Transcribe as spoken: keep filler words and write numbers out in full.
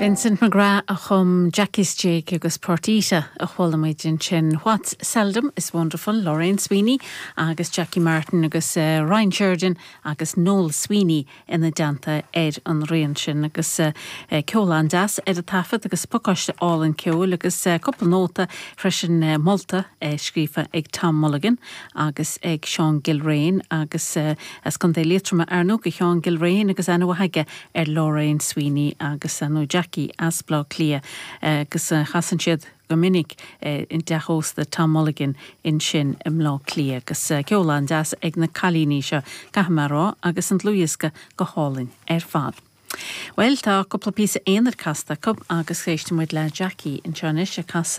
Vincent McGrath a chum Jackie's Jig agus Partita a chuala muid ansin What's Seldom is Wonderful, Lorraine Sweeney agus Jackie Martin agus uh, Ryan Sheridan agus Noel Sweeney ina dteannta ar an rian sin agus uh, uh, ceol an-deas ar an taifead agus pacáiste álainn ceoil agus uh, cúpla nóta freisin uh, molta uh, scríofa ag Tom Mulligan agus ag Sean Gilrain agus uh, as Contae Liatroma ar ndóigh do Sheán Gilrain agus aithne aige ar Lorraine Sweeney agus uh, nó Jackie as Bleá Cliath agus uh, chasann siad go minic uh, in teach ósta Tom Mulligan ansin i mBleá Cliath agus uh, ceol an-deas ag na cailíní seo caithfidh mé a rá agus an dlúthdhiosca go hálainn ar fad. Well tá cúpla píosa aonair casta acu agus éistfidh muid le Jackie anseo anois ag casadh